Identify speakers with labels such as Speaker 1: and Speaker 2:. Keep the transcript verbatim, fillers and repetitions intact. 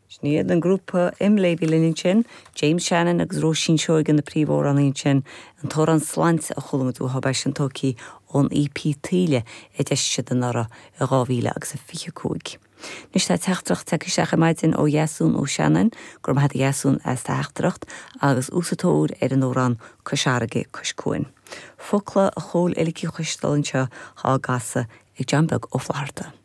Speaker 1: Sin iad an grúpa Imlé a bhí linn ansin, James Shannon agus Róisín Seoige na príomhamhránaí ansin, an t-amhrán Sláinte a chuala muid uathu é sin tógtha ón EP Taoille a d'eisigh siad anuraidh i dhá mhíle agus a fiche cúig. Anois tá teachtaireacht tagtha isteach ar maidin ó Dheasún Ó Seanáin, go raibh maith agat a Dheasún as do theachtaireacht agus í sa tóir ar an amhrán Cois Fharraige Cois Cuain. Focla a Chóil Uillic Uí Choisteáil anseo á gcasadh ag John Beag Ó Flatharta.